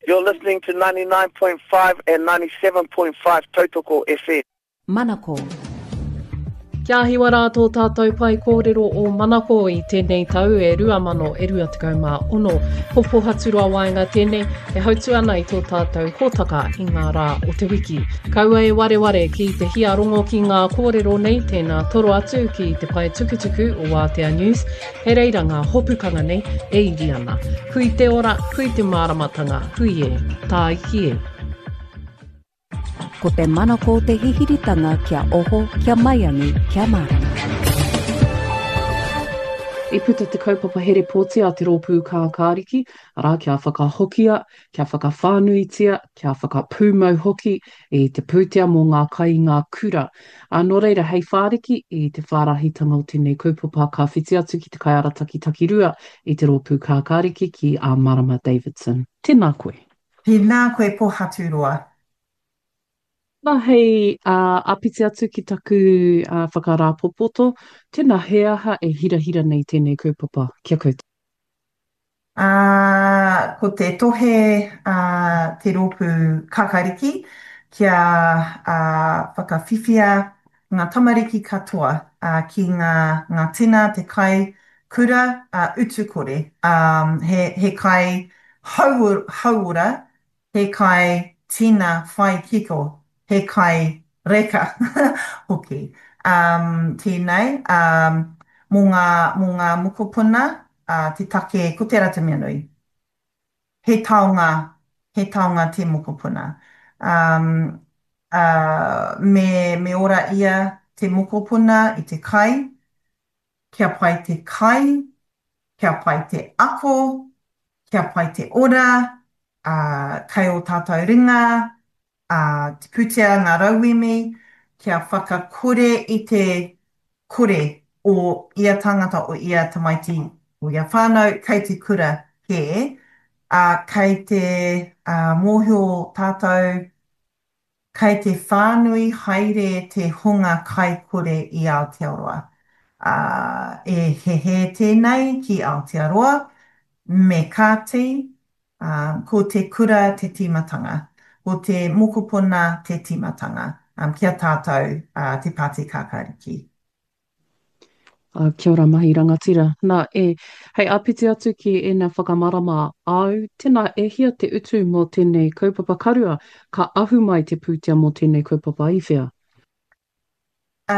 You're listening to 99.5 and 97.5 Tautoko FM. Manako. Kia hiwa rā tō tātou pae kōrero o Manako i tēnei tau e 2026. Ko Pohaturoa Waenga tēnei e hautu ana i tō tātou hōtaka i ngā rā o te wiki. Kaua e wareware ki te hiarongo ki ngā kōrero nei, tēnā toro atu ki te pae tukutuku o Wātea News, He reira ngā hopukanga nei e iri ana. Hui te ora, hui te māramatanga, hui e, tāiki e. Ko te manako te hihiritanga kia oho, kia maiangi, kia mārama. I puta te kaupapa here pōti a te Rōpū Kākāriki, arā, kia whakahokia, kia whakawhānuitia, kia whakapūmau hoki i te pūtea mō ngā kai i ngā kura. Ā, nō reira, hei whāriki i te whārahitanga o tēnei kaupapa, ka whiti atu ki te kaiarataki takirua i te Rōpū Kākāriki ki a Marama Davidson. Tēnā koe. Tēnā koe Pohaturoa. Nā, hei āpiti atu ki taku whakarāpopoto, tēnā, he aha e hirahira nei tēnei kaupapa ki a koutou? Ā, ko te tohe a te rōpū Kakariki kia whakawhiwhia ngā tamariki katoa ki ngā ngā tina, te kai kura utu kore, ā, he he kai hauora He kai tina whai kiko, he kai reka hoki. Um, tēnei, um, mō ngā, mō ngā mokopuna, uh, te take, ko tērā te mea nui. He taonga, he taonga te mokopuna. Um, uh, me, me ora ia te mokopuna i te kai, kia pai te kai, kia pai te ako, kia pai te ora, ā, kei ō tātou ringa, ā, te pūtea, ngā rauemi, kia whakakore i te kore o ia tangata, o ia tamaiti, o ia whānau kei te kura kē, ā, kei te, ā, mōhio tātou Kei te whānui haere te hunga kaikore i Aotearoa. Ā, e hehē tēnei ki Aotearoa, me kāti, ā, ko te kura te tīmatanga, ko te mokopuna te tīmatanga, ā, ki a tātou, ā, te Pāti Kākāriki. Ā, kia ora mahi rangatira. Nā, e, hei āpiti atu ki ēnā whakamarama āu, tēnā e hia te utu mō tēnei kaupapa karua, ka ahu mai te pūtea mō tēnei kaupapa i whea? Ā,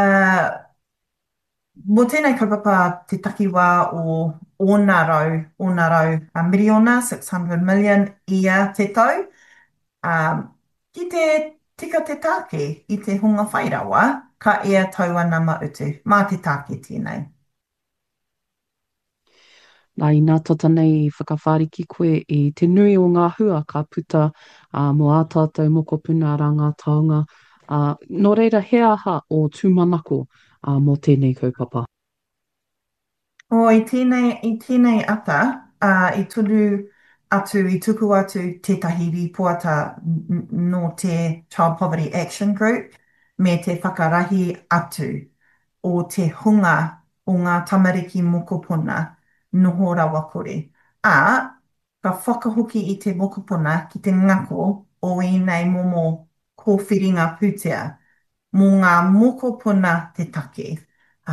mō tēnei kaupapa te takiwā o ōna rau, ōna rau miriona, 600 million, ia te tau, Ā, ki te tika te tāke i te hunga whai rawa, ka ea taua nama utu. Mā te tāke tēnei. Nā, inā tata nei i whakawhāriki koe i te nui o ngā hua ka puta, ā, mō ā tātou mokopuna, arā ngā taonga, ā, nō reira he aha ō tūmanako, ā, mō tēnei kaupapa? Oh, i tēnei, i tēnei ata, ā, i tunu atu, i tuku atu tētahi rīpoata nō te Child Poverty Action Group me te whakarahi atu o te hunga o ngā tamariki mokopuna noho rawakore, ā, ka whakahoki i te mokopuna ki te ngako o ēnei momo kōwhiringa pūtea mō ngā mokopuna te take.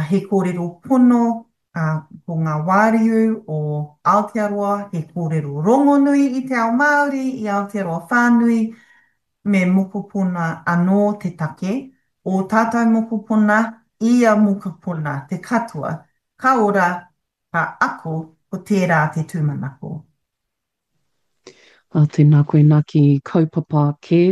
He kōrero pono ko ngā wāriu o Aotearoa, he kōrero rongonui i te ao Māori, i Aotearoa whānui, me mokopuna anō te take, ō tātou mokopuna, ia mokopuna, te katoa, ka ora, ka ako, ko tērā te tūmanako. Ā, tēnā koe nā ki kaupapa kē.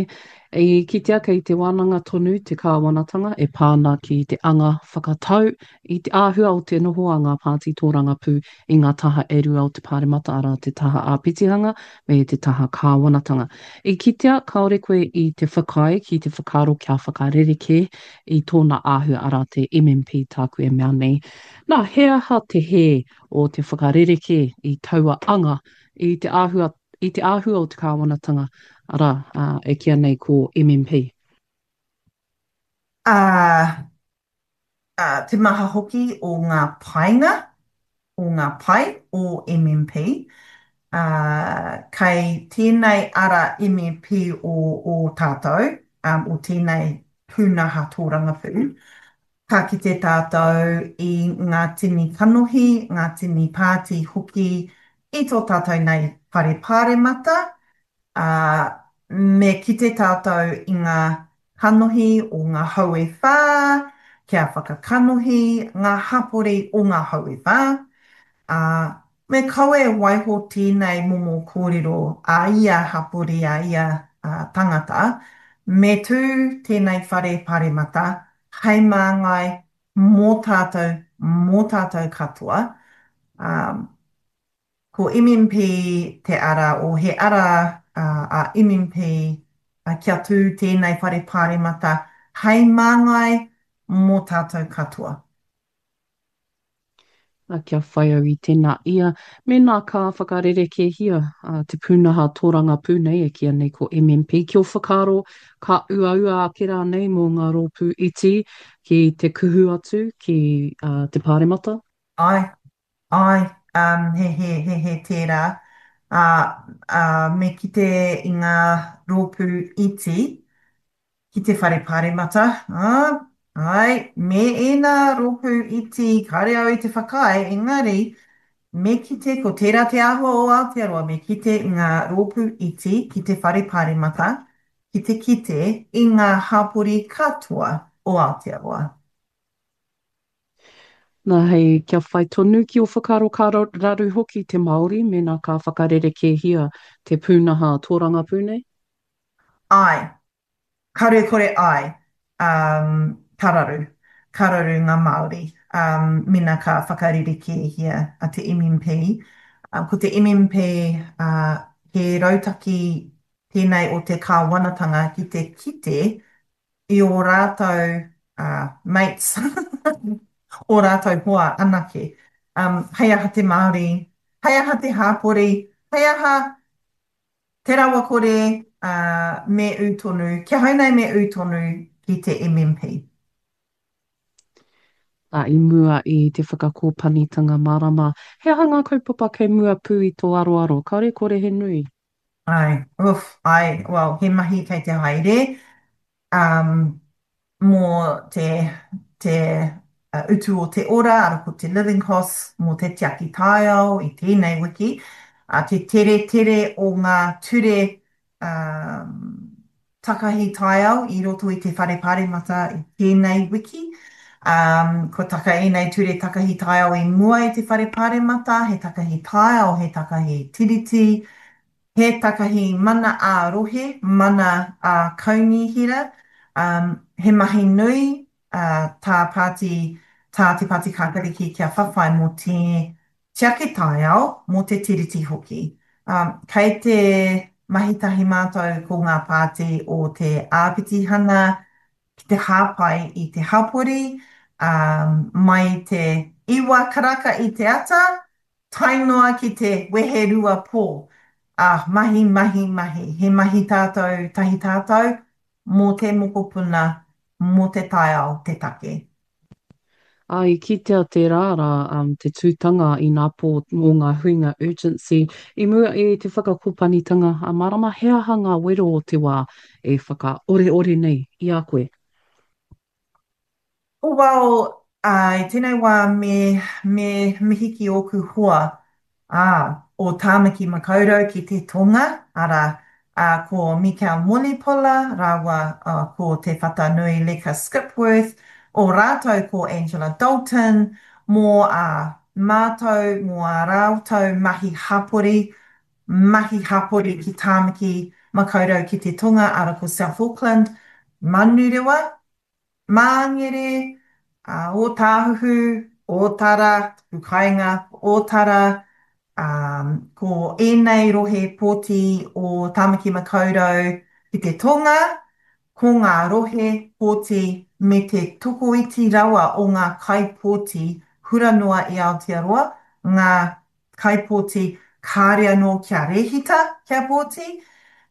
I kitea kei te wānanga tonu te kāwanatanga e pā ana ki te anga whakatau i te āhua o te noho a ngā pāti tōrangapū i ngā taha e rua o te Pāremata, arā, te taha āpitihanga me te taha kāwanatanga. I kitea kāore koe i te whakaae ki te whakaaro kia whakarerekē i tōna āhua, arā, te MMP tāku e mea nei. Nā, he aha te hē o te whakarerekē i taua anga i te āhua, i te āhua o te kāwanatanga, arā, e kīia nei ko MMP. Ā, ā, te maha hoki o ngā painga, o ngā pai o MMP. Ā, kei tēnei ara MEP o ō tātou, o tēnei pūnaha tōrangapū, ka kite tātou i ngā tini kanohi, ngā tini pāti hoki i tō tātou nei whare pāremata, ā, me kite tātou i ngā kanohi o ngā hau e whā, kia whakakanohi ngā hapori o ngā hau e whā, ā, me kaua e waiho tēnei momo kōrero a ia hapori, a ia tangata, me tū tēnei whare paremata hei māngai mō tātou, mō tātou katoa, ā, ko MMP te ara, o he ara a MMP kia tū tēnei whare paremata hei māngai mō tātou katoa. Kia whai au i tēnā ia, mēnā ka whakarerekēhia te pūnaha tōrangapū nei e kīia nei ko MMP, ki ō whakaaro ka uaua ake rānei mō ngā rōpū iti ki te kuhu atu ki te Pāremata? Āe, āe, he he, he he tērā. Ā, ā, me kite i ngā rōpū iti ki te whare pāremata, ā, āe, me ēnā rōpū iti kāre au i te whakaae, engari, me kite ko tērā te āhua o Aotearoa, me kite i ngā rōpū iti ki te whare pāremata, ki te kite i ngā hapori katoa o Aotearoa. Nā, hei kia whai tonu ki ō whakaaro ka raru hoki te Māori mēnā ka whakarerekēhia te pūnaha tōrangapū nei? Āe. Karekore āe. Um, ka raru. Ka raru ngā Māori um, mena ka whakarerekēhia a te MMP. Um, ko te MMP uh, he rautaki tēnei o te kāwanatanga ki te kite i ō rātou uh, mates, ō rātou hoa anake. Um, hei aha te Māori, hei aha te hāpori, hei aha Te rawakore, ā, me ū tonu, ki ahau nei me ū tonu ki te MMP. Ā, i mua i te whakakōpanitanga marama, he aha ngā kaupapa kei mua pū i tō aroaro? Kāore kore he nui. Āe, oof, āe, well, he mahi kei te haere. Um, mō te, te utu o te ora, ara ko te living costs mō te tiaki taiao i tēnei wiki, a te teretere o ngā ture um, takahi taiao i roto i te Whare Pāremata i tēnei wiki. Um, kua taka ēnei ture takahi taiao i mua i te Whare Pāremata, he takahi taiao, he takahi tiriti, He takahi mana ā-rohe, mana ā-kaunihera, ā, he mahi nui tā pāti, tā Te Pāti Kākāriki kia whawhai mō te tiaki taiao, mō te Tiriti hoki. Ā, kei te mahi tahi mātou ko ngā pāti o te āpitihana ki te hāpai i te hapori, ā, mai i te iwa karaka i te ata, Tae noa ki te weherua pō. Ā, mahi, mahi, mahi. He mahi tātou, tahi tātou, mō te mokopuna, mō te taiao te take. Ā, i kitea tērā rā, te tūtanga ināpō mō ngā huinga urgency i mua i te whakakopanitanga a Marama, he aha ngā wero o te wā e whakaoreore nei i a koe? Well, ā, i tēnei wā me, me mihi ki ōku hoa, ā, o Tāmaki Makaurau ki te tonga, arā, ā, ko Mikel Mulipola rāua, ā, ko Te Whatanui Leka Skipworth, o rātou ko Angela Dalton, mō ā mātou, mō ā rātou mahi hapori, mahi hapori ki Tāmaki Makaurau ki te tonga, arā, ko South Auckland, Manurewa, Māngere, Ōtāhuhu, Ōtara, taku kāinga, Ōtara, ā, ko ēnei rohe pōti o Tāmaki Makaurau ki te tonga, ko ngā rohe pōti me te tokoiti rawa o ngā kaipōti hura noa i Aotearoa, ngā kaipōti kāre anō kia rēhita kia pōti,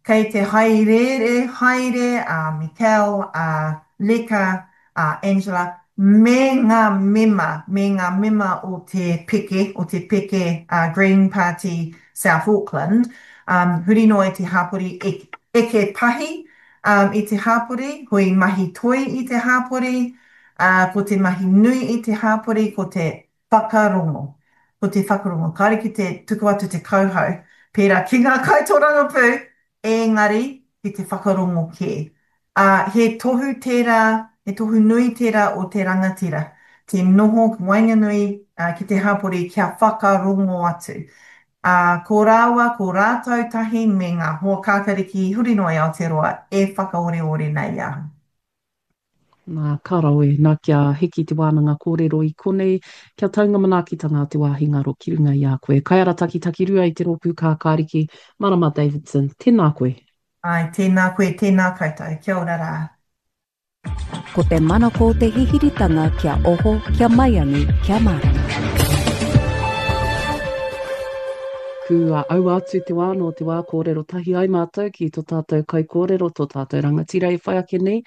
kei te haerēre haere a Mikel, a Leka, a Angela me ngā mema, me ngā mema o te peke, o te peke Green Party. South Auckland, huri noa i te hāpori, eke pahi i te hāpori, hui mahi toi i te hāpori, ā, ko te mahi nui i te hāpori ko te whakarongo. Ko te whakarongo. Kāore ki te tuku atu te kauhau, pērā ki ngā kaitōrangapū, engari ki te whakarongo kē. Ā, he tohu tērā, he tohu nui tērā o te rangatira, te noho waenganui ki te hapori kia whakarongo atu. Ā, ko rāua, ko rātou tahi me ngā hoa kākariki huri noa i Aotearoa e whakaoreore nei i ahau. Nā, ka rawe, nā kia hiki te wānanga kōrero i konei, kia tau ngā manaakitanga a te wāhi ngaro ki runga i a koe. Kaiarataki Takirua i te Rōpū Kākāriki, Marama Davidson, tēnā koe. Āe, tēnā koe, tēnā koutou. Kia ora rā. Ko te manako te hihiritanga kia oho, kia maiangi, kia mārama. Kua aua atu te wā nō te wā kōrero tahi ai mātou ki tō tātou kaikōrero, tō tātou rangatira e whai ake nei,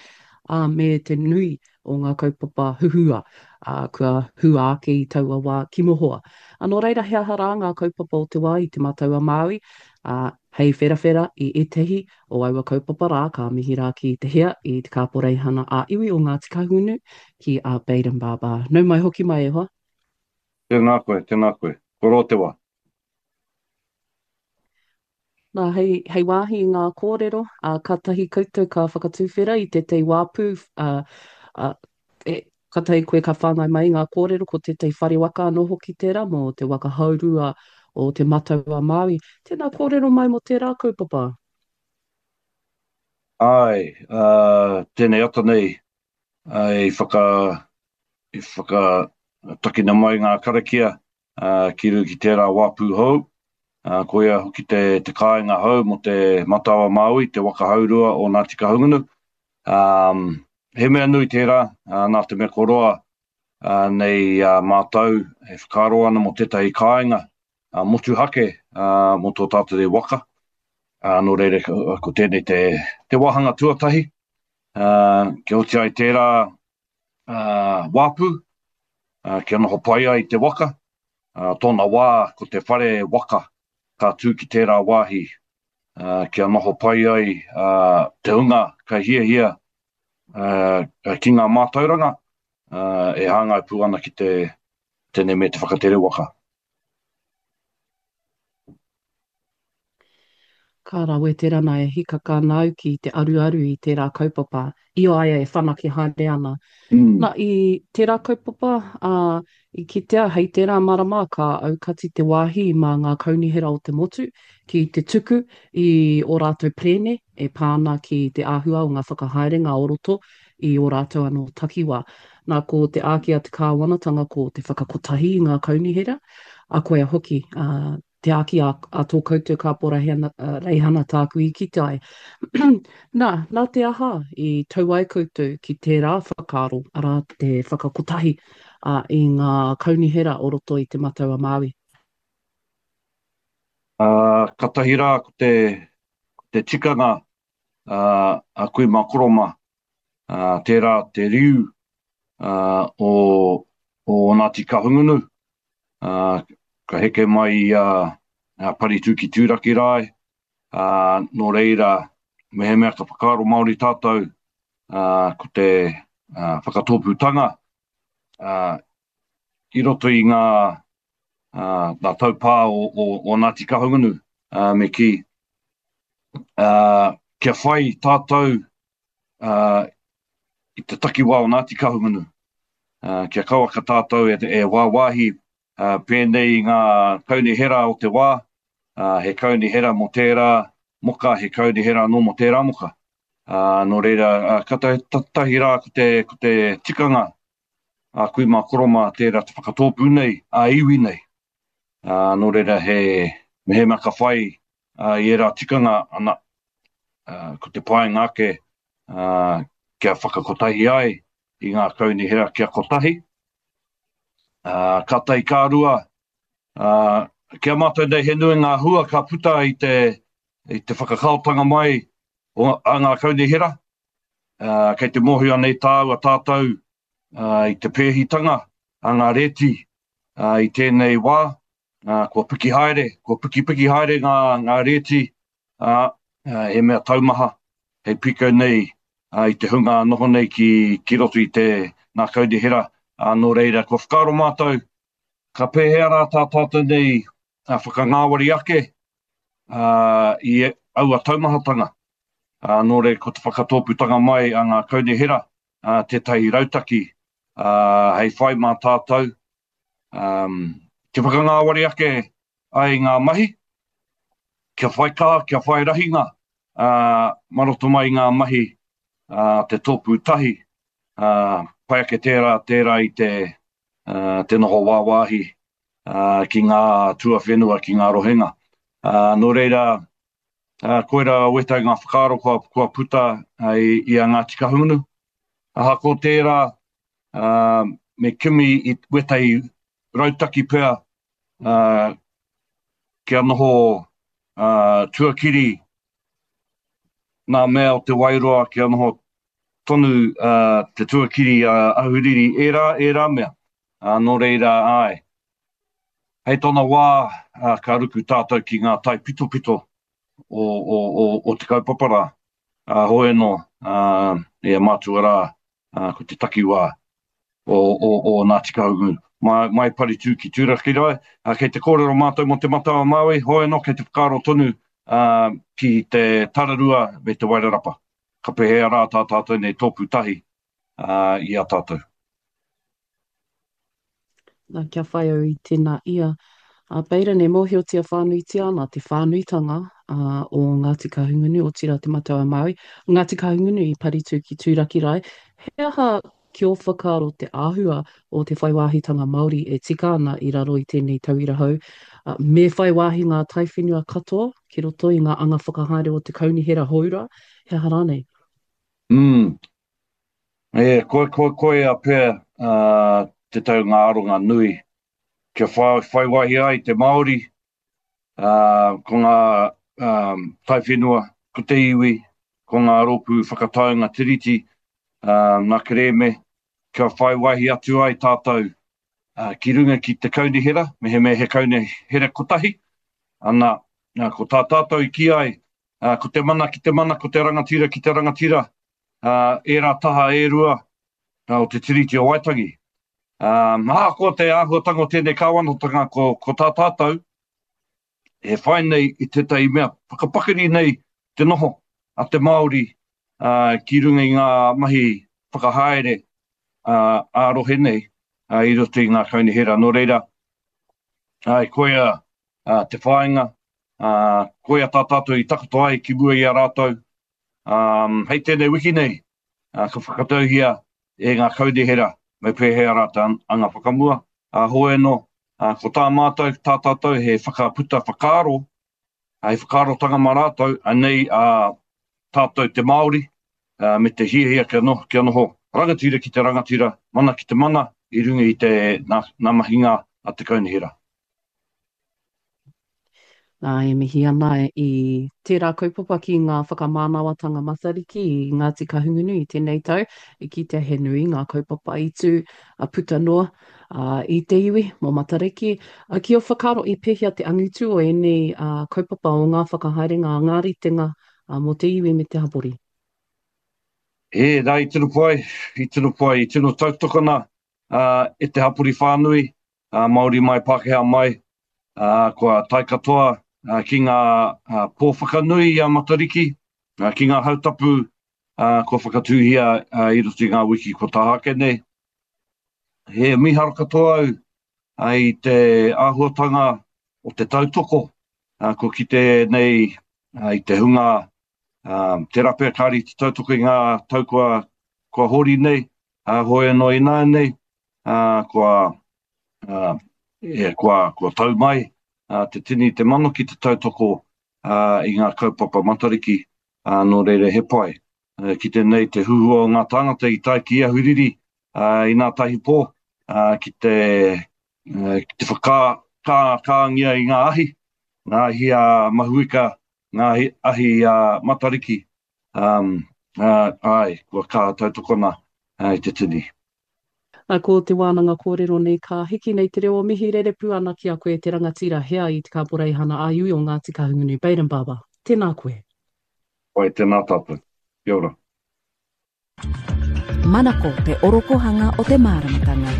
ā, me te nui o ngā kaupapa huhua, ā, kua hua ake i taua wā ki mohoa. Ā, nō reira he aha rā ngā kaupapa o te wā i Te Matau-a-Māui, ā, hei wherawhera i ētahi o aua kaupapa rā, ka mihi rā ki te hea i te Kāporeihana ā-Iwi o Ngāti Kahungunu, ki a Bayden Barber. Nau mai hoki mai e hoa. Tēnā koe, tēnā koe. Kua roa te wā. Nā, hei, hei wāhi i ngā kōrero, ā, kātahi koutou ka whakatuwhera i tētahi wāpu, ā, ā, e, kātahi koe ka whāngai mai i ngā kōrero, ko tētahi whare waka anō hoki tērā mō te waka haurua o Te Matau-a-Māui. Tēnā kōrero mai mō tērā kaupapa. Āe, ā, tēnei ata nei, ā, i whaka, i whakatakina mai ngā karakia, ā, ki rū ki tērā wāpū hou, ā, koia hoki te, te kāinga hou mō te Matau-a-Māui, te waka haurua o Ngāti Kahungunu. Ā, he mea nui tērā, ā, nā te mea kua roa ā, nei ā mātou e whakaaro ana mō tētahi kāinga ā, motuhake ā, mō tō tātou nei waka. Ā, nō reira, ko tēnei te, te wāhanga tuatahi, ā, kia oti ai tērā ā, wāpū, ā, kia noho pai ai te waka. Ā, tōna wā, ko te whare waka ka tū ki tērā wāhi, ā, kia noho pai ai ā, te hunga ka hiahia ā, ki ngā mātauranga, ā, e hāngai pū ana ki te tēnei me te whakatere waka. Ka rawe te rana e hikaka ana au ki te aruaru i tērā kaupapa i a ia e whanake haere ana. Na, i tērā kaupapa, ā, i kitea hei tērā marama ka aukati te wāhi mā ngā kaunihera o te motu ki te tuku i ō rātou perēne e pā ana ki te āhua o ngā whakahaerenga o roto i ō rātou anō takiwā. Nā, ko te āki a te kāwanatanga ko te whakakotahi i ngā kaunihera, ā, koia hoki, ā, te āki a, a tō koutou kāporaheana, reihana tāku i kite ai. Nā, nā te aha i tau ai koutou ki tērā whakaaro, arā, te whakakotahi a, i ngā kaunihera o roto i Te Matau-a-Māui? Ā, katahi rā ko te, ko te tikanga ā, a kui mā koro mā, ā, tērā te riu ā, o, o Ngāti Kahungunu, ā, ka heke mai i a, a Paritū ki Tūraki rae, ā, nō reira, mehemea ka whakaaro Māori tātou, ā, ko te ā, whakatōpūtanga, ā, i roto i ngā, ā, ngā taupā o, o, o Ngāti Kahungunu, ā, me kī, ā, kia whai tātou, ā, i te takiwā o Ngāti Kahungunu, ā, kia kauaka tātou e, e wāwāhi, ā, pēnei i ngā kaunihera o te wā, ā, he kaunihera mō tērā moka, he kaunihera anō mō tērā moka. Ā, nō reira, ā, ka tahi rā ko te, ko te tikanga a kui mā koro mā tērā te whakatōpū nei, a iwi nei. Ā, nō reira he, mehemea ka whai ā, i ērā tikanga ana, ā, ko te painga ake ā, kia whakakotahi ai i ngā kaunihera kia kotahi. Ā, ka tahi ka rua, ā, ki a mātou nei he nui ngā hua ka puta i te, i te whakakaotanga mai o, a ngā kaunihera, ā, kei te mōhio nei tāua tātou ā, i te pēhitanga a ngā rēti ā, i tēnei wā. Kua piki haere, kua pikipiki haere ngā, ngā rēti, ā, he mea taumaha, hei pīkau nei i te hunga noho nei ki, ki roto i te ngā kaunihera, ā, nō reira, kua whakaaro mātou, ka pēhea rā tā tātou nei whakangāwari ake i aua taumahatanga, ā, nō reira, ko te whakatōpūtanga mai a ngā kaunihera tētahi rautaki hei whai mā tātou, kia whakangāwari ake ai ngā mahi, kia whai kaha, kia whai rahinga mā roto mai i ngā mahi a te tōpū tahi, pai ake tērā, tērā i te, te noho wāwāhi ki ngā tuawhenua, ki ngā rohenga. Nō reira, koirā wētahi ngā whakaaro kua, kua puta i, i a Ngāti Kahungunu. Ahakoa tērā, me kimi i wētahi rautaki pea kia noho tuakiri ngā mea o Te Wairoa, kia noho tonu te tuakiri ahuriri, ērā, ērā mea. Nō reira, āe, hei tōna wā ka ruku tātou ki ngā taipitopito o, o, o, o te kaupapa rā. Hoi anō, e mātua rā, ko te takiwā o, o, o Ngāti Kahungunu. Mai, mai Paritū ki Turakirae, kei te kōrero mātou mō Te Matau-a-Māui, hoi anō kei te whakaaro tonu ki te Tararua me te Wairarapa. Ka pēhea rā tā tātou nei tōpū tahi i a tātou. Nā, kia whai au i tēnā ia. A Baden, e mōhiotia whānuitia ana te whānuitanga o Ngāti Kahungunu, otirā Te Matau-a-Māui, Ngāti Kahungunu i Paritū ki Tūrakirae. He aha ki ō whakaaro te āhua o te whai wāhitanga Māori e tika ana i raro i tēnei tauira hou? Me whai wāhi ngā taiwhenua katoa ki roto i ngā anga whakahaere o te kaunihera hou rā, he aha rānei? Mm. E, ko, ko, koia pea uh, te tau ngā aronga nui kia whai, whai wāhi ai te Māori, uh, ko ngā um, taiwhenua, ko te iwi, ko ngā rōpū whakataunga tiriti, uh, ngā kerēme, kia whai wāhi atu ai tātou uh, ki runga ki te kaunihera, mehemea he kaunihera kotahi, ana, ko tā tātou i kī ai, uh, ko te mana ki te mana, ko te rangatira ki te rangatira, ērā taha e rua o te Tiriti o Waitangi. Ahakoa te āhuatanga o tēnei kāwanatanga, ko, ko tā tātou, e whai nei i tētahi mea whakapakari nei te noho a te Māori ki runga i ngā mahi whakahaere ā-rohe nei i roto i ngā kaunihera. Nō reira, ai, koia te whāinga, koia tā tātou i takoto ai ki mua i a rātou, Um, hei tēnei wiki nei, uh, ka whakatauhia e ngā kaunihera me pēhea rā te anga whakamua. Uh, hoi anō, uh, ko tā mātou, tā tātou he whakaputa whakaaro, hei whakaarotanga mā rātou, anei a uh, tātou te Māori, uh, me te hiahia kia noho, kia noho rangatira ki te rangatira, mana ki te mana, i runga i te nā, nā mahinga a te kaunihera. Nā, e mihi ana i tērā kaupapa ki ngā whakamānawatanga Matariki i Ngāti Kahungunu i tēnei tau, i kitea he nui ngā kaupapa i tū a puta noa i te iwi mō Matariki. Ki ō whakaaro i pēhea te angitu o ēnei kaupapa o ngā whakahaerenga a ngā ritenga mō te iwi me te hapori? E, nā, i tino pai, i tino pai, i tino tautokona e te hapori whānui, Māori mai, Pākehā mai, kua tae katoa ki ngā pō whakanui i a Matariki, ki ngā hautapu kua whakatūhia i roto i ngā wiki kua taha ake nei. He mīharo katoa au i te āhuatanga o te tautoko kua kite nei i te hunga tērā pea kāre i te tautoko i ngā tau kua, kua hori nei, hoi anō ināianei, kua, e, kua, kua tau mai te tini te mano ki te tautoko i ngā kaupapa Matariki, nō reira he pai. Kite nei te huhua o ngā tāngata i tae ki Ahuriri i nā tahi pō ki te, ki te whakakāngia i ngā ahi, ngā ahi a Mahuika, ngā ahi a Matariki, um, āe, kua kaha tautokona i te tini. Ko te wānanga kōrero nei ka hiki nei te reo o mihi rerepū ana ki a koe te rangatira hea i te Kaporeihana ā-Iwi o Ngāti Kahungunu Bayden Barber. Tēnā koe. Pai, tēnā tātou. Kia ora. Manako te orokohanga o te māramatanga.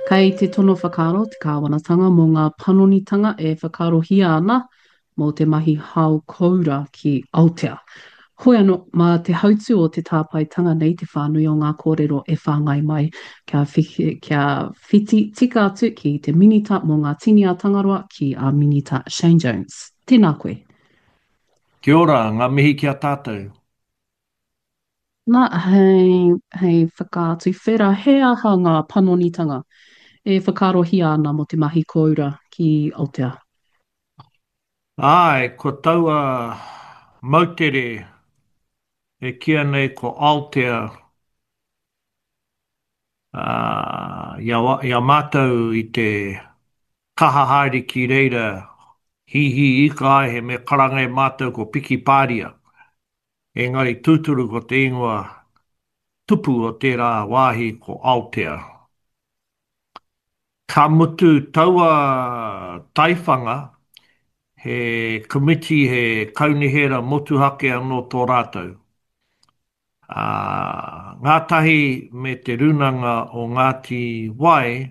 Kei te tono whakaaro te kāwanatanga mō ngā panonitanga e whakaarohia ana mō te mahi hao koura ki Aotea. Hoi anō, mā te hautū o te tāpaetanga nei te whānui o ngā kōrero e whāngai mai kia, kia whiti tika atu ki te Minita mō ngā Tini a Tangaroa ki a Minita Shane Jones. Tēnā koe. Kia ora, ngā mihi ki a tātou. Nā, hei, hei whakaatu whera, he aha ngā panonitanga e whakaarohia ana mō te mahi kōura ki Aotea? Āe, ko taua moutere e kīia nei ko Aotea, ā, i a, i a mātou i te kaha haere ki reira hīhī ika ai he mea karanga e mātou ko Piki Pāria, engari tūturu ko te ingoa tupu o tērā wāhi ko Aotea. Ka mutu taua taiwhanga, he komiti, he kaunihera motuhake anō tō rātou. Ā, ngātahi me Te Rūnanga o Ngāti Wai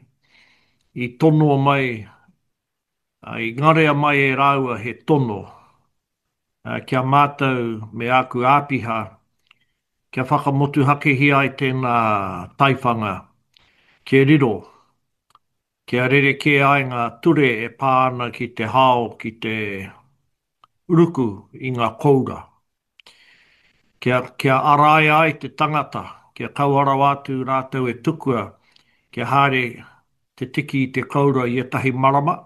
i tonoa mai, i ngarea mai e rāua he tono ki a mātou me āku āpiha kia whakamotuhakehia ai tēnā taiwhanga kia riro, kia rerekē ai ngā ture e pā ana ki te hao ki te ruku i ngā koura. Kia, kia araia ai te tangata, kia kaua rawa atu rātou e tukua kia haere te tiki i te koura i ētahi marama,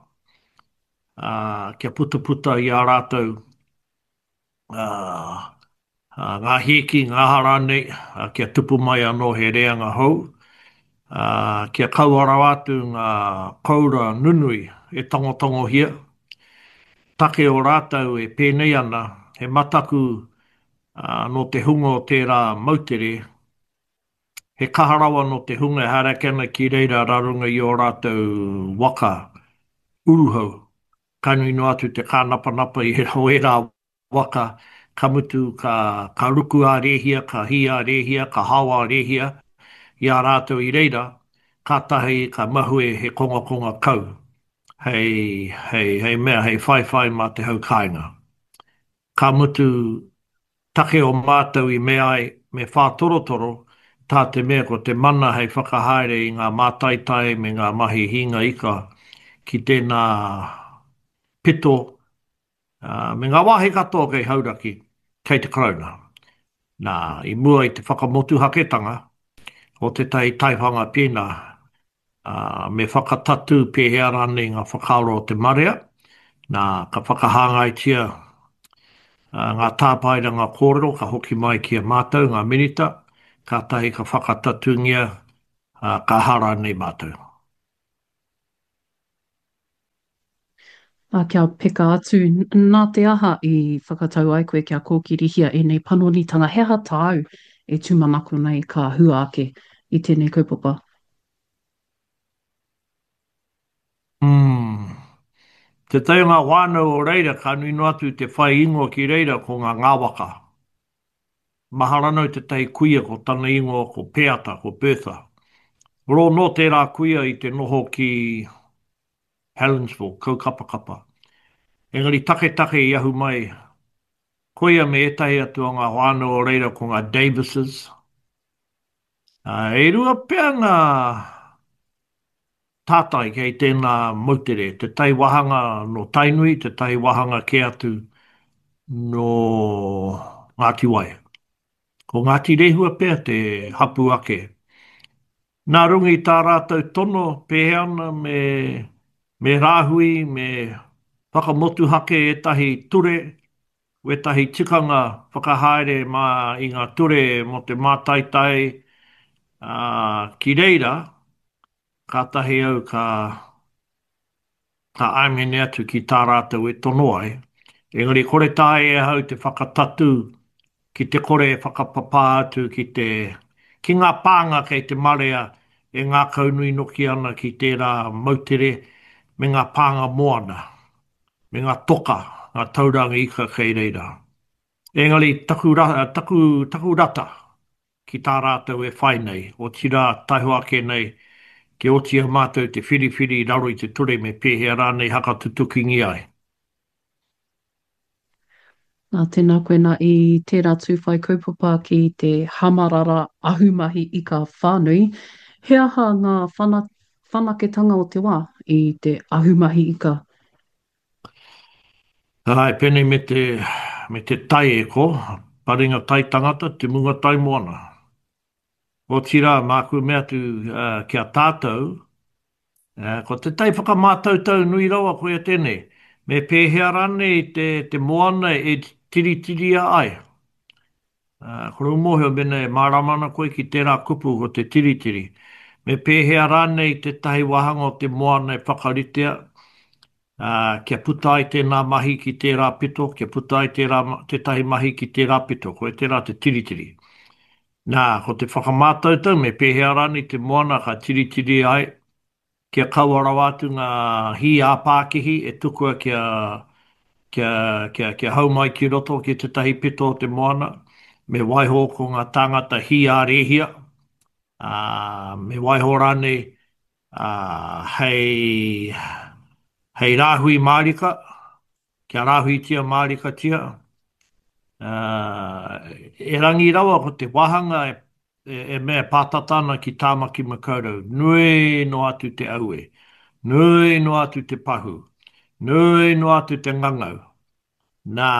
ā, kia putaputa i ā rātou, ā, ngā hīki, ngā aha rānei, ā, kia tupu mai anō he reanga hou, ā, kia kaua rawa atu ngā koura nunui e tangotangohia, Take o rātou e pēnei ana, he mataku nō te hunga o tērā moutere, he kaha rawa nō te hunga e haere ake ana ki reira rā runga i ō rātou waka uruhau, ka nui noa atu te kānapanapa i ērā waka, ka mutu ka, ka ruku ā-rēhia, ka hī ā-rēhia, ka hao ā-rēhia i a rātou i reira, kātahi ka mahue he kongakonga kau hei, hei, hei mea, hei whaiwhai mā te hau kāinga. Ka mutu, take o mātou i mea ai me whātorotoro, tā te mea ko te mana hei whakahaere i ngā mātaitai me ngā mahi hīnga ika ki tēnā pito Ā, me ngā wāhi katoa kei Hauraki, kei te Karauna. Nā, i mua i te whakamotuhaketanga o tētahi taiwhanga pēnā, ā, me whakatatū pēhea rānei ngā whakaaro o te marea, nā, ka whakahāngaitia ngā tāpaeranga kōrero ka hoki mai ki a mātou, ngā Minita, kātahi ka whakatatūngia, ā, ka aha rānei mātou. Ā, kia peka atu, nā te aha i whakatau ai koe kia kōkirihia ēnei panonitanga? He aha tāu e tūmanako nei ka hua ake i tēnei kaupapa? Umm. Tētahi o ngā whānau o reira ka nui noa atu te whai ingoa ki reira ko ngā Ngāwaka. Mahara nau tētahi kuia ko tana ingoa ko Peata, ko Bertha. Rō nō tērā kuia i te noho ki Helensville, Kaukapakapa. Engari taketake i ahu mai koia me ētahi atu o ngā whānau o reira ko ngā Davises. E rua pea ngā tātai kei tēnā moutere, tētahi wāhanga nō Tainui, tētahi wāhanga kē atu nō Ngāti Wai. Ko Ngāti Rehua pea te hapū ake. Nā runga i tā rātou tono pēhea ana me me rāhui, me whakamotuhake ētahi ture, wētahi tikanga whakahaere mā i ngā ture mō te mātaitai, ā, ki reira, kātahi au ka ka āmene atu ki tā rātou e tono ai. Engari kore taea e ahau te whakatatū. ki te kore e whakapapā atu ki te, ki ngā pānga kei te marea e ngākaunui noki ana ki tērā moutere me ngā pānga moana, me ngā toka, ngā tauranga ika kei reira. Engari taku, taku, taku rata ki tā rātou e whai nei, otirā taihoa ake nei kia oti i a mātou te whiriwhiri i raro i te ture me pēhea rānei hakatutukingia ai. Nā, tēnā koe nā i tērā tū whai kaupapa ki te hamarara ahumahi ika whānui, he aha ngā whana, whanaketanga o te wā i te ahumahi ika? Āe, pēnei me te, me te tai e ko, paringa tai tangata, te munga tai moana. Otirā, māku e mea atu ki a tātou, ko te tai whakamātautau nui rawa koia tēnei, me pēhea rānei te moana e tiritiria ai? Kore u mōhio mēnā e mārama ana koe ki tērā kupu ko te tiritiri. Me pēhea rānei tētahi wāhanga o te moana e whakaritea, kia puta ai tēnā mahi ki tērā pito, kia puta ai tērā, tētahi mahi ki tērā pito, koia tērā te tiritiri. Nā, ko te whakamātautau me pēhea rānei te moana ka tiritiri ai, kia kaua rawa atu ngā hī ā-pākihi e tukua kia, kia, kia, kia hau mai ki roto ki tētahi pito o te moana, me waiho ko ngā tāngata hī ā-rēhia, ā, me waiho rānei, ā, hei, hei rāhui mārika, Kia rāhuitia mārikatia, ā, erangi rawa ko te wāhanga e mea e pātata ana ki Tāmaki Makaurau, nui noa atu te aue, nui noa atu te pahū, nui noa atu te ngangau. Nā,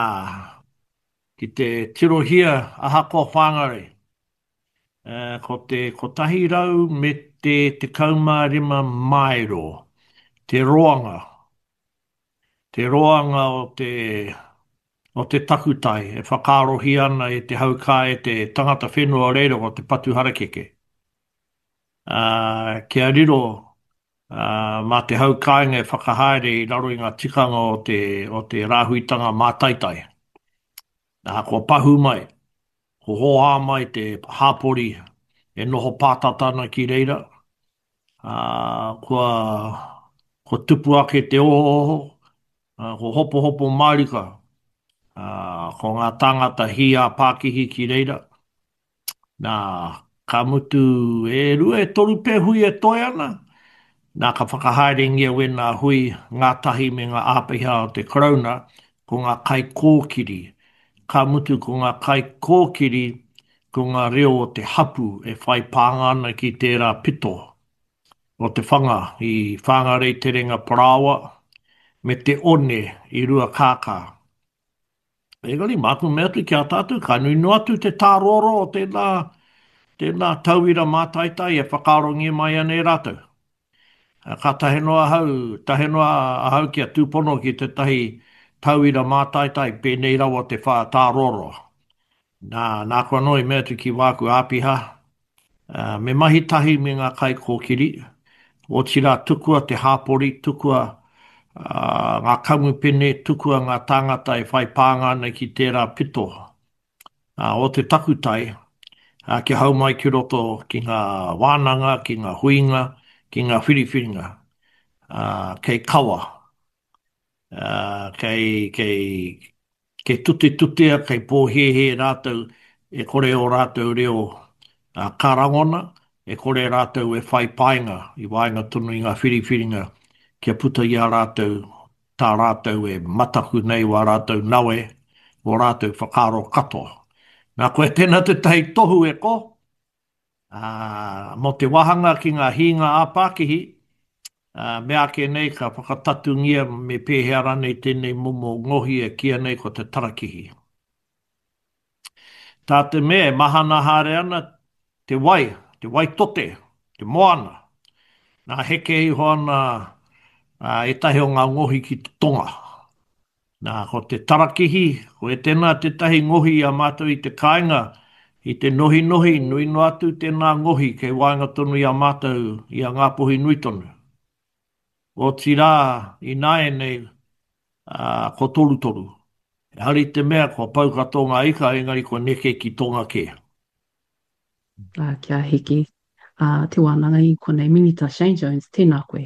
ki te tirohia ahakoa Whāngarei, ā, ko te 115 māero te roanga Te roanga o te, o te takutai e whakaarohia ana e te hau kā e te tangata whenua o reira ko te patu harakeke. Ā, kia riro, ā, mā te hau kāinga e whakahaere i raro i ngā tikanga o te, o te rāhuitanga mātaitai. Ā, kua pahū mai, kua hōhā mai te hāpori e noho pātata ana ki reira, ā, kua, kua tupu ake te ohooho, ā, kua hopohopo mārika, ā, ko ngā tāngata hī ā-pākihi ki reira. Nā, ka mutu e rua, e toru pea hui e toe ana, nā, ka whakahaerengia wēnā hui ngātahi me ngā āpiha o te Karauna, ko ngā kaikōkiri. Ka mutu ko ngā kaikōkiri ko ngā reo o te hapū e whai pānga ana ki tērā pito o te whanga i Whāngarei Terenga Parāoa me te one i Ruakākā. Engari, māku mea atu ki a tātou, ka nui noa atu te tāroaroa o tēnā, tēnā tauira mātaitai e whakaarongia mai ana e rātou. Ka tahe noa ahau, tahe noa ahau kia tūpono ki tētahi tauira mātaitai pēnei rawa te whā tāroaroa. Nā, nāku anō i mea atu ki wāku āpiha, me mahi tahi me ngā kaikōkiri, otirā tukua te hāpori, tukua ngā kamupene, tukua ngā tāngata e whai pānga ana ki tērā pito o te takutai, kia hau mai ki roto ki ngā wānanga, ki ngā huinga, ki ngā whiriwhiringa, kei kawa. Ā, kei, kei, kei tutetutea, kei pōhēhē rātou e kore ō rātou reo ka rangona, e kore rātou e whai painga i waenga tonu i ngā whiriwhiringa kia puta i a rātou tā rātou e mataku nei wā rātou nawe, wō rātou whakaaro katoa. Nā, koia tēnā tētahi tohu e ko, ā, mō te wāhanga ki ngā hīnga ā-pākihi, ā, meāke nei ka whakatatungia me pēhea rānei tēnei momo ngohi e kīia nei ko te tarakihi. Tā te mea e mahana haere ana te wai, te wai tote, te moana, nā heke iho ana ētahi o ngā ngohi ki te tonga. Nā, ko te tarakihi, ko Etena tētahi ngohi i a mātou i te kāinga, i te nohinohi, nui noa atu tēnā ngohi kei waenga tonu i a mātou, i a Ngāpuhi nui tonu. Otirā, ināianei, ā, ko Torutoru. Ehara i te mea kua pau katoa ngā ika, engari kua neke ki tonga kē. Ā, kia hiki a te wānanga i konei. Minita Shane Jones, tēnā koe.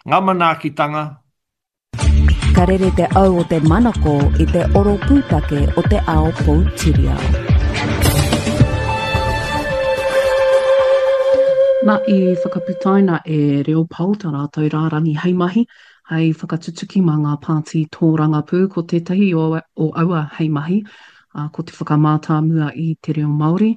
Ngā manaakitanga. Ka rere te au o te manako i te oro pūtake o te ao poutiriao. Na, i whakaputaina e Reo Pao ta ratou rārangi hei mahi, hei whakatutuki mā ngā pāti tōrangapū. Ko tētahi o aua hei mahi, ko te whakamātāmua i te reo Māori,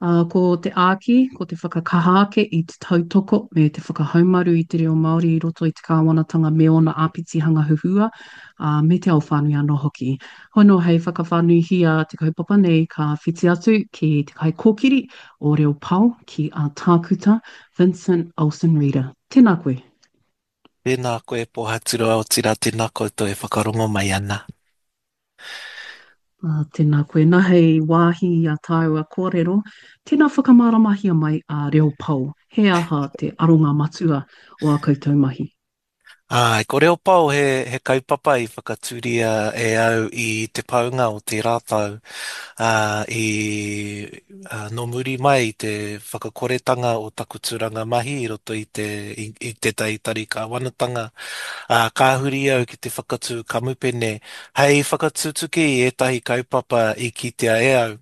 ā, ko te āki, ko te whakakaha ake i te tautoko me te whakahaumaru i te reo Māori i roto i te kāwanatanga me ōna āpitihanga huhua, ā, me te ao whānui anō hoki. Hono hei whakawhānuihia te kaupapa nei ka whiti atu ki te kaikōkiri o Reo Pao ki a Tākuta Vincent Olsen-Reeder. Tēnā koe. Tēnā koe Pōhaturoa otirā tēnā koutou e whakarongo mai ana. Ā, tēnā koe. Nā hei wāhi i a tāua kōrero, tēnā whakamāramahia mai a Reo Pao, he aha te aronga matua o ā koutou mahi? Āe, ko Reo Pao he, he kaupapa i whakatūria e au i te paunga o tērā tau, ā, i, ā, nō muri mai i te whakakoretanga o taku tūranga mahi i roto i te, i, i tētahi tari kāwanatanga, ā, ka huri au ki te whakatū kamupene hei whakatutuki i ētahi kaupapa i kitea e au.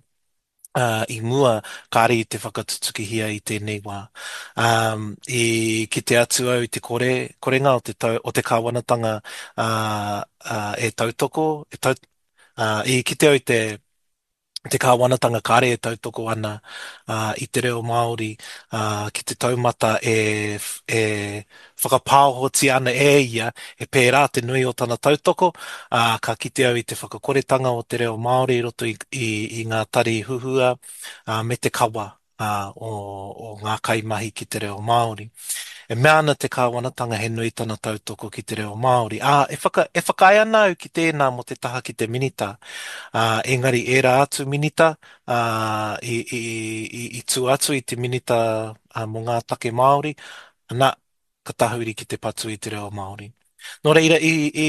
ā, i mua, kāre i te whakatutukihia i tēnei wā. Ā, i kite atu au i te kore, korenga o te tau, o te kāwanatanga, ā, ā, e tautoko, e tau, ā, i kite au i te, te kāwanatanga kāre e tautoko ana, ā, i te reo Māori, ā, ki te taumata e, e whakapāohotia ana e ia, he pērā te nui o tana tautoko, ā, ka kite au i te whakakoretanga o te reo Māori i roto i, i, i ngā tari huhua, ā, me te kawa, ā, o, o ngā kaimahi ki te reo Māori. E mea ana te kāwanatanga he nui tana tautoko ki te reo Māori, ā, e whaka, e whakaae ana au ki tēnā mō te taha ki te minita, ā, engari ērā atu minita, ā, i, i, i, i tua atu i te minita, ā, mō ngā take Māori, Ana, ka tahuri ki te patu i te reo Māori. Nō reira, i, i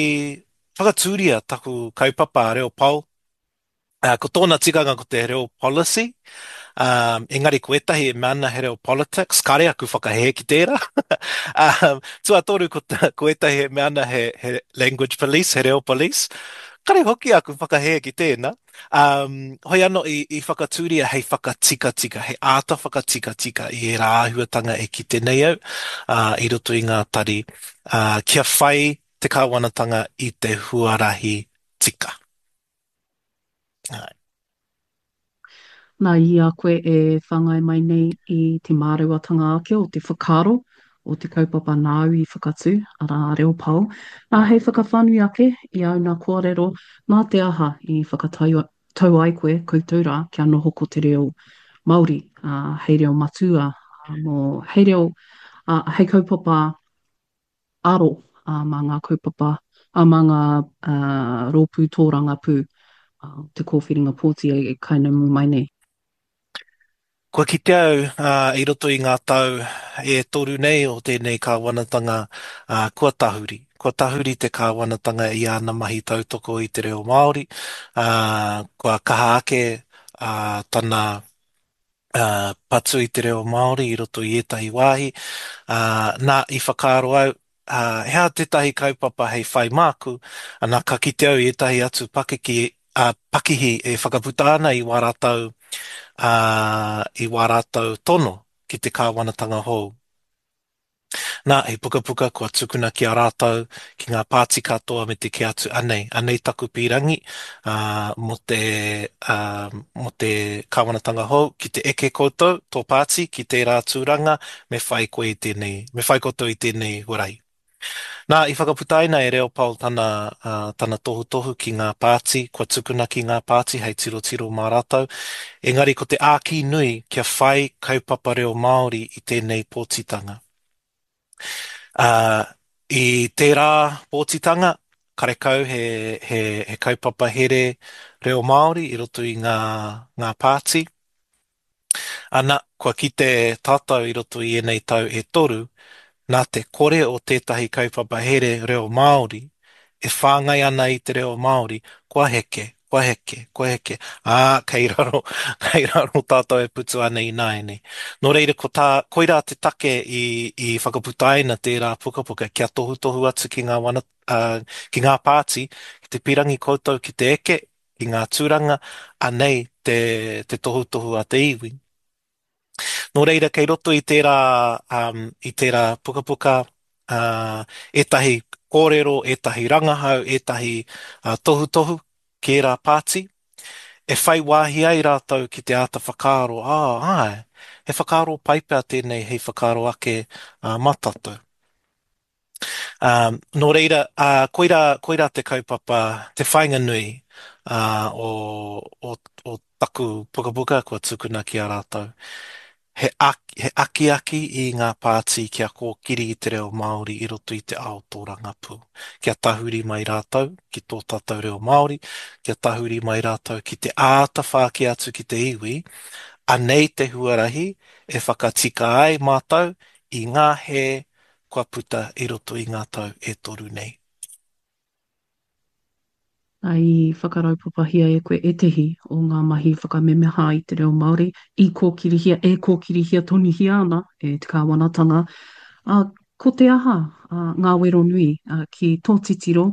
whakatūria taku kaupapa a Reo Pao, uh, ko tōna tikanga ko te reo policy, um, engari ko ētahi e mea ana he reo politics, kāre aku whakahē ki tērā. um, tuatoru, ko, ko ētahi e mea ana he, he language police, he reo police, kāre hoki aku whakahē ki tēnā. Um, hoi anō i, i whakatūria hei whakatikatika, hei āta whakatikatika i ērā āhuatanga e kite nei au uh, i roto i ngā tari, uh, kia whai te kāwanatanga i te huarahi tika. Ai. Nā, i a koe e whāngai mai nei i te māreuatanga ake o te whakaaro o te kaupapa nāu i whakatū, arā, a Reo Pao, nā, hei whakawhānui ake i āu nā kōrero, nā te aha i whakatau tau ai koe, koutou rā, kia noho ko te reo Māori, ā, hei reo matua, ā, mō, hei reo, ā, hei kaupapa aro, ā, mā ngā kaupapa, ā, mā ngā, ā, rōpū tōrangapū, ā, te kōwhiringa pōti e kainamu mai nei. Kua kite au i roto i ngā tau e toru nei o tēnei kāwanatanga, kua tahuri. Kua tahuri te kāwanatanga i āna mahi tautoko i te reo Māori, kua kaha ake tana patu i te reo Māori i roto i ētahi wāhi. Nā, i whakaaro au, he aha tētahi kaupapa hei whai māku, ana ka kite au i ētahi atu pakeke, ā, pakihi e whakaputa ana i wā rātou, ā, i wā rātou tono ki te kāwanatanga hou. Nā, he pukapuka kua tukuna ki a rātou, ki ngā pāti katoa me te kī atu, anei, anei taku pīrangi, ā, mō te, ā, mō te kāwanatanga hou, ki te eke koutou, tō pāti, ki tērā tūranga, me whai koe i tēnei, me whai koutou i tēnei huarahi. Nā, i whakaputaina e Leopold tana, tana tohutohu ki ngā pāti, kua tukuna ki ngā pāti hei tirotiro mā rātou. Engari ko te āki nui kia whai kaupapa reo Māori i tēnei pōtitanga. Ā, i tērā pōtitanga, karekau he, he, he kaupapa here reo Māori i roto i ngā, ngā pāti. Ana, kua kite tātou i roto i ēnei tau e toru, nā te kore o tētahi kaupapa here reo Māori. e whāngai ana i te reo Māori, kua heke, kua heke, kua heke, ā, kei raro, kei raro tātou e putu ana ināianei. Nō reira, ko tā, koirā te take i, i whakaputaina tērā pukapuka kia tohutohu atu ki ngā wana, ā, ki ngā pāti, ki te pirangi koutou ki te eke, ki ngā tūranga, anei te, te tohutohu a te iwi. Nō reira, kei roto i tērā, um, i tērā pukapuka, uh, ētahi kōrero, ētahi rangahau, ētahi uh, tohutohu ki ērā pāti, e whai wāhi ai rātou ki te āta whakaaro, ā, āe, he whakaaro pai pea tēnei hei whakaaro ake uh, mā tātou. Ā, nō reira, ā, koirā, koirā te kaupapa, te whāinga nui, ā, o, o, o taku pukapuka kua tukuna ki a rātou. He, he akiaki i ngā pāti kia kōkiri i te reo Māori i roto i te ao tōrangapū. Kia tahuri mai rātou ki tō tātou reo Māori, kia tahuri mai rātou ki te āta whāki atu ki te iwi, anei te huarahi e whakatika ai mātou i ngā hē kua puta i roto i ngā tau e toru nei. I whakaraupapahia e koe ētehi o ngā mahi whakamemeha i te reo Māori i kōkirihia, e kōkirihia tonuhia ana e te kāwanatanga. Ā, ko te aha ngā wero nui ki tō titiro,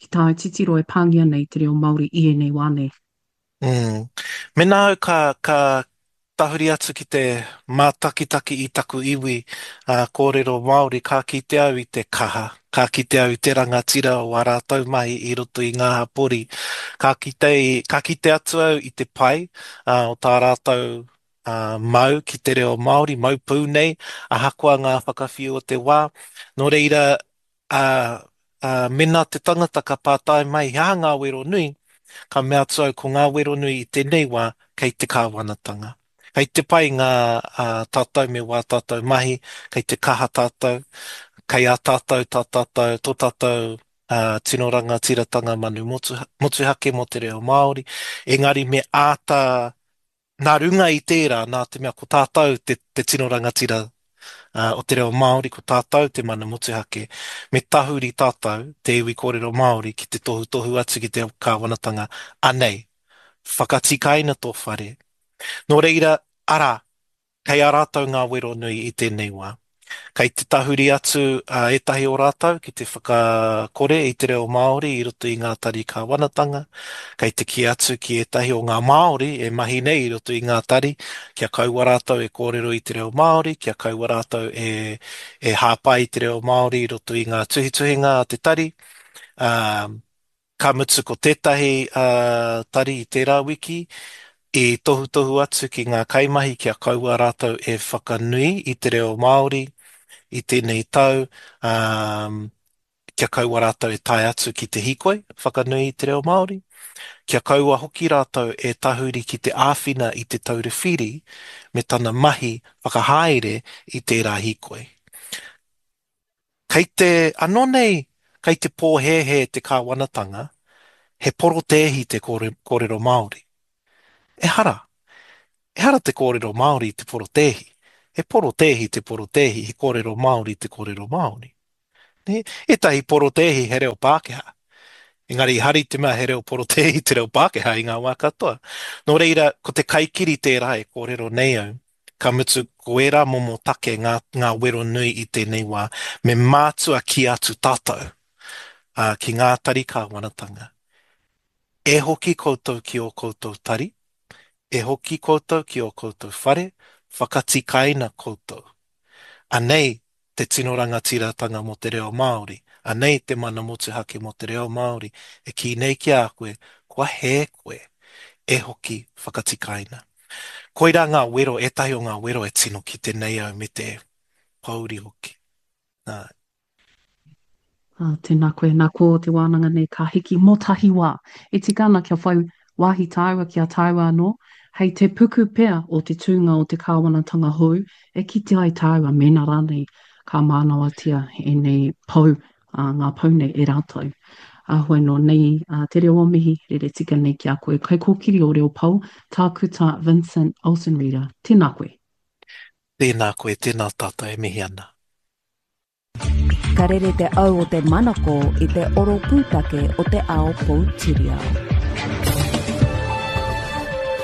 ki tāu titiro e pāngia nei te reo Māori i ēnei wā nei? Mm. Mēnā au ka, ka tahuri atu ki te mātakitaki i taku iwi ā, kōrero Māori, ka kite au i te kaha, ka kite au i te rangatira o ā rātou mahi i roto i ngā hapori. Ka kite, ka kite atu au i te pai ā, o tā rātou ā, mau ki te reo Māori, mau pū nei, ahakoa ngā whakawhiu o te wā. Nō reira, ā, ā, mēnā te tangata ka pātai mai he aha ngā wero nui, ka mea atu au ko ngā wero nui i tēnei wā kei te kāwanatanga. Kei te pai ngā, ā, tātou me wā tātou mahi, kei te kaha tātou, kei a tātou tā tātou, tō tātou, ā, tino rangatiratanga manu motu, motuhake mō te reo Māori, engari me āta Nā runga i tērā, nā te mea ko tātou te, te tino rangatira uh, o te reo Māori, ko tātou te mana motuhake, me tahuri tātou, te iwi kōrero Māori, ki te tohutohu atu ki te kāwanatanga, anei, whakatikaina tō whare. Nō reira, arā, kei a rātou ngā wero nui i tēnei wā. Kei te tahuri atu ētahi o rātou ki te whakakore i te reo Māori i roto i ngā tari kāwanatanga, kei te kī atu ki ētahi o ngā Māori e mahi nei i roto i ngā tari kia kaua rātou e kōrero i te reo Māori, kia kaua rātou e, e hāpai i te reo Māori i roto i ngā tuhituhinga a te tari. Ā, Ka mutu ko tētahi tari i tērā wiki i tohutohu atu ki ngā kaimahi kia kaua rātou e whakanui i te reo Māori i tēnei tau, ā, kia kaua rātou e tae atu ki te hīkoi whakanui i te reo Māori, kia kaua hoki rātou e tahuri ki te āwhina i Te Taura Whiri me tana mahi whakahaere i tērā hīkoi. Kei te, anō nei, kei te pōhēhē te kāwanatanga, he porotēhi te kōrero Māori. Ehara. Ehara te kōrero Māori i te porotēhi. He porotēhi te porotēhi, he kōrero Māori te kōrero Māori. Nē? Ētahi porotēhi he reo Pākehā. Engari ehara i te mea he reo porotēhi te reo Pākehā i ngā wā katoa. Nō reira, ko te kaikiri tērā e kōrero nei au. Ka mutu, ko ērā momo take ngā, ngā wero nui i tēnei wā, me mātua kī atu tātou, ā, ki ngā tari kāwanatanga, E hoki koutou ki ō koutou tari, e hoki koutou ki ō koutou whare, whakatikaina koutou. Anei te tino rangatiratanga mō te reo Māori, anei te mana motuhake mō te reo Māori e kī nei ki a koe, kua hē koe, e hoki whakatikaina. Koirā ngā wero, ētahi o ngā wero e tino kite nei au me te pōuri hoki. Nā. Ā, tēnā koe. Nā, ko te wānanga nei ka hiki mō tahi wā. E tika ana kia whai wāhi tāua ki a tāua anō, hei te puku pea o te tūnga o te kāwanatanga hou e kite ai tāua mēnā rānei ka mānawatia ēnei pou, ā, ngā pou nei e rātou. Ā, hoi nō nei ā, te reo o mihi, rere tika nei ki a koe. Kaikōkiri o Reo Pou, Tākuta Vincent Olsen-Reeder, tēnā koe. Tēnā koe, tēnā tātou e mihi ana. Ka rere te au o te manako i te oro pūtake o te ao poutiriao.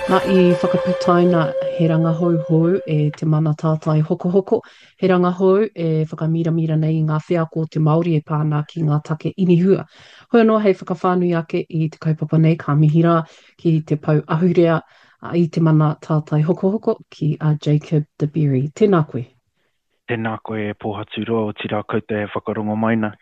Na, i whakaputaina he rangahau hou e Te Mana Tātai Hokohoko, he rangahau e whakamiramira nei i ngā wheako o te Māori e pā ana ki ngā take inihua. Hoi anō hei whakawhānui ake i te kaupapa nei ka mihi rā ki te pou ahurea i Te Mana Tātai Hokohoko ki a Jacob De Berry. Tēnā koe. Tēnā koe e Pōhaturoa, otirā koutou e whakarongo mai na.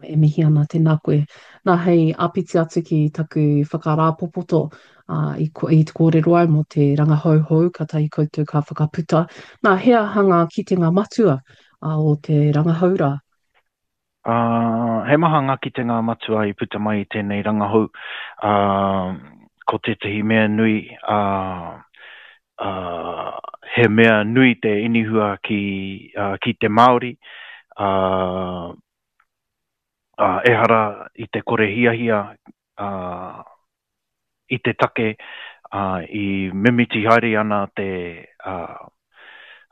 E mihi ana, tēnā koe. Nā, hei āpiti atu ki taku whakarāpopoto ā, i, i te kōrero au mō te rangahau hou kātahi koutou ka whakaputa. Nā, he aha ngā kitenga matua ā, o te rangahau rā? Ā, he maha ngā kitenga matua i puta mai i tēnei rangahau. Ā, ko tētahi mea nui, ā, ā, he mea nui te inihua ki, ā, ki te Māori, ā, ā, ehara i te kore hiahia, ā, i te take, ā, i mimiti haere ana te, ā,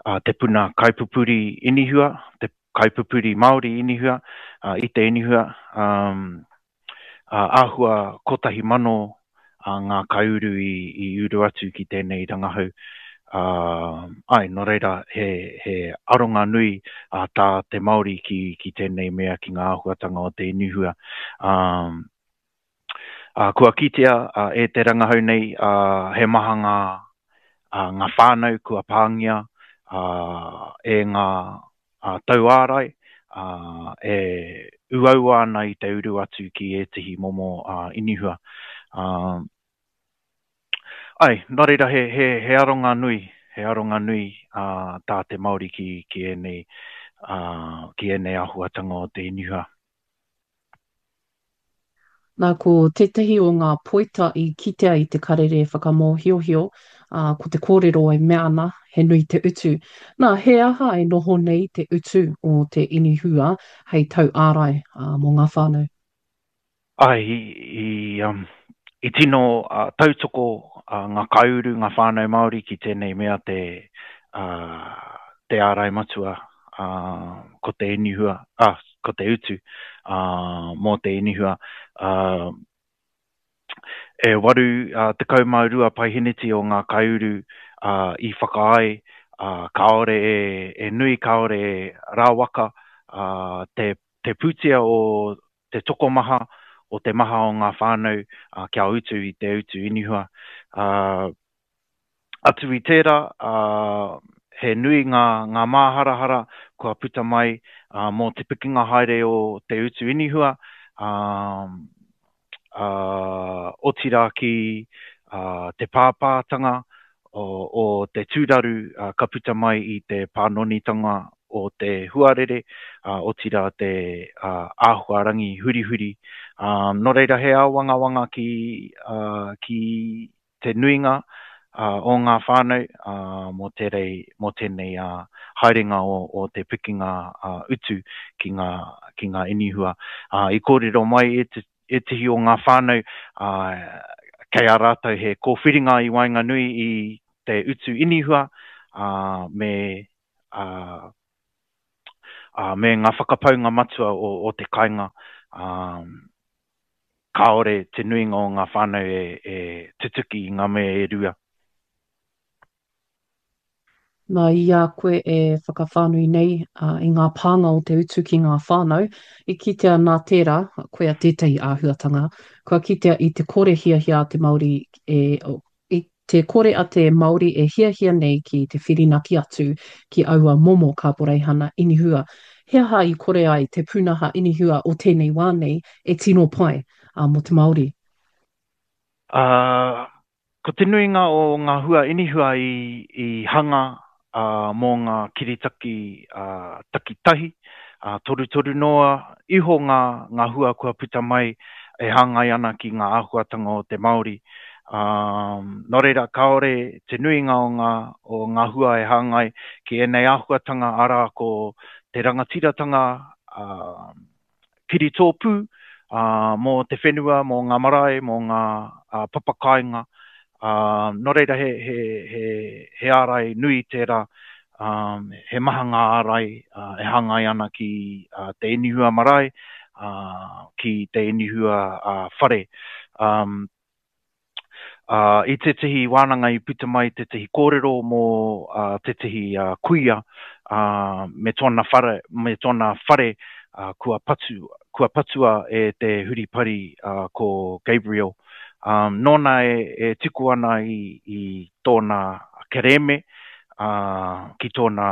ā, te puna kaipupuri inihua, te kaipupuri Māori inihua, ā, i te inihua, ā, ā, āhua 1,000 ā, ngā kaiuru i, i uru atu ki tēnei rangahau. Ā, āe, nō reira, he, he aronga nui ā, tā te Māori ki, ki tēnei mea, ki ngā āhuatanga o te inihua. Ā, Ā, kua kitea e te rangahau nei he maha ngā, ngā whānau kua pāngia e ngā tauārai e uaua ana i te uru atu ki ētehi momo inihua. Āe, nō reira he, he, he aronga nui, he aronga nui tā te Māori ki, ki ēnei, ki ēnei āhuatanga o te inihua. Nā, ko tētahi o ngā poita i kitea i te karere whakamōhiohio, ā, ko te kōrero e mea ana, he nui te utu. Nā, he aha e noho nei te utu o te inihua hei tauārai, ā, mō ngā whānau? Āe, i, i, um, i tino uh, tautoko uh, ngā kaiuru, ngā whānau Māori ki tēnei mea te, uh, te ārai matua, uh, ko te inihua, ah, ko te utu mō te inihua. E 82 paeheneti o ngā kaiuru i whakaae kāore e nui, kāore e rawaka te te pūtea o te tokomaha, o te maha o ngā whānau kia utu i te utu inihua. Atu i tērā, he nui ngā, ngā māharahara kua puta mai mō te pikinga haere o te utu inihua, otirā ki te pāpātanga o, o te tūraru ka puta mai i te pānonitanga o te huarere, otirā te āhuarangi hurihuri. Nō reira he āwangawanga ki, ki te nuinga o ngā whānau mō tērei, mō tēnei haerenga o te pikinga utu ki ngā, ki ngā inihua. I kōrero mai ētehi o ngā whānau kei a rātou he kōwhiringa i waenganui i te utu inihua me, me ngā whakapaunga matua o te kāinga. Kāore te nuinga o ngā whānau e tutuki i ngā mea e rua. Nā, i a koe e whakawhānui nei i ngā pānga o te utu ki ngā whānau, i kitea nā tērā, koia tētahi āhuatanga, kua kitea i te kore hiahia a te Māori e, i te kore a te Māori e hiahia nei ki te whirinaki atu ki aua momo kāporeihana inihua. He aha i kore ai te pūnaha inihua o tēnei wā nei e tino pai mō te Māori? Ā, ko te nuinga o ngā hua inihua i, i hanga mō ngā kiritaki takitahi, torutoru noa iho ngā, ngā hua kua puta mai e hāngai ana ki ngā āhuatanga o te Māori. Nō reira, kāore te nuinga o ngā, o ngā hua e hāngai ki ēnei āhuatanga, arā, ko te rangatiratanga kiritōpū mō te whenua, mō ngā marae, mō ngā papakāinga. Nō reira, he, he, he, he ārai nui tērā. He maha ngā ārai e hāngai ana ki te inihua marae, ki te inihua whare. I tētehi wānanga i puta mai tētehi kōrero mō tētehi kuia me tōna whare, me tōna whare kua patu, kua patua e te huripari ko Gabriel. Nōna e tuku ana i tōna kerēme ki tōna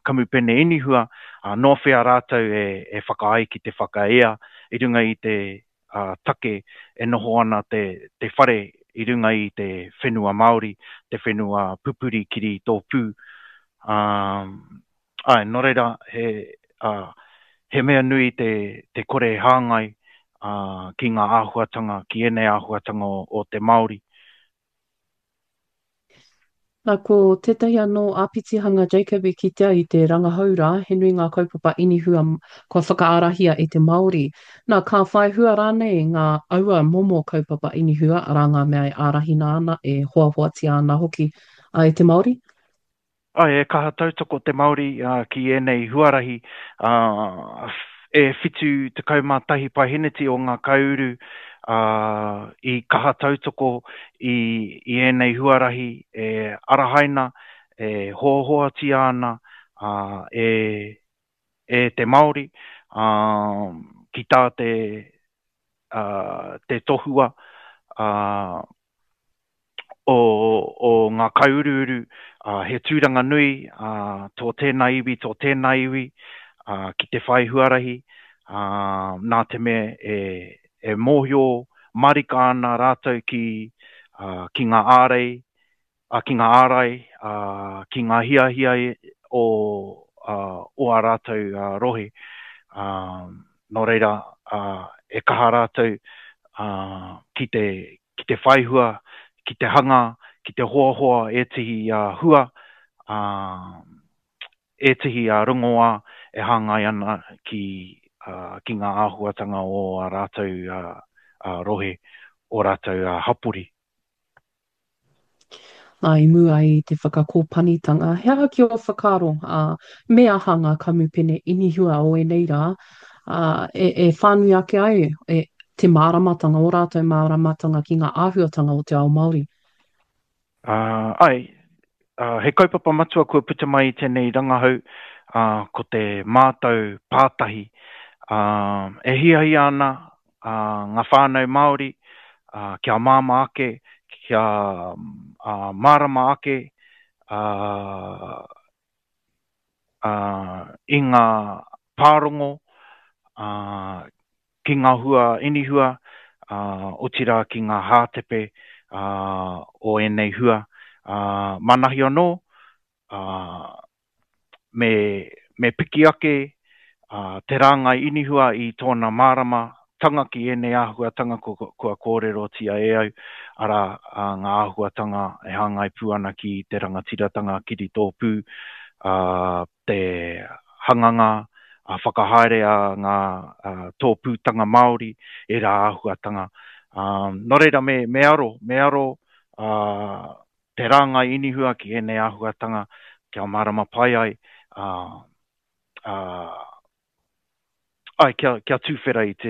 kamupene inihua, nō whea rātou e whakaae ki te whakaea i runga i te take e noho ana te whare i runga i te whenua Māori, te whenua pupuri kiri tōpū. Āe, nō reira, he, he mea nui te, te kore hāngai ki ngā āhuatanga, ki ēnei āhuatanga o, o te Māori. Nā, ko tētahi anō āpitihanga Jacob i kitea i te rangahau rā, he nui ngā kaupapa inihua kua whakaarahia e te Māori. Nā, ka whai hua rānei ngā aua momo kaupapa inihua, arā ngā mea e ārahina ana, e hoahoatia ana hoki e te Māori? Āe, e kaha tautoko te Māori ki ēnei huarahi, e 71 paeheneti o ngā kaiuru i kaha tautoko i ēnei huarahi e arahaina, e hoahoatia ana e te Māori ki tā te tohua o, o ngā kaiuruuru, ā, he tūranga nui ā, tō tēnā iwi, tō tēnā iwi ā, ki te whai huarahi, ā, nā te mea e, e mōhio marika ana rātou ki, ā, ki ngā ārei, ā, ki ngā ārai, ā, ki ngā hiahia o, ā, o ā rātou ā, rohe. Ā, nō reira, ā, e kaha rātou ā, ki te, ki te whaihua, ki te hanga, ki te hoahoa ētehi hua, ētehi rongoā e hāngai ana ki, ki ngā āhuatanga o ā rātou rohe, ō rātou hapori. Nā, i mua i te whakakōpanitanga, he aha ki ō whakaaro, ā, me aha ngā kamupene inihua o ēnei rā, ā, e, e whānui ake ai e, te māramatanga, ō rātou māramatanga ki ngā āhuatanga o te ao Māori? Ā, āe, ā, he kaupapa matua kua puta mai i tēnei rangahau, ā, ko te mātau pātahi. Ā, e hiahia ana ngā whānau Māori kia māmā ake, kia mārama ake i ngā pārongo ki ngā hua inihua, otirā ki ngā hātepe o ēnei hua. Manahi anō, me, me piki ake te rāngai inihua i tōna māramatanga ki ēnei āhuatanga kua, kua kōrerotia e au, arā, ngā āhuatanga e hāngai pū ana ki te rangatiratanga kiritōpū, te hanganga whakahaere a ngā tōpūtanga Māori, ērā āhuatanga. Nō reira, me, me aro, me aro te rāngai inihua ki ēnei āhuatanga kia mārama pai ai, ā, ā, āe, kia, kia tuwhera i te.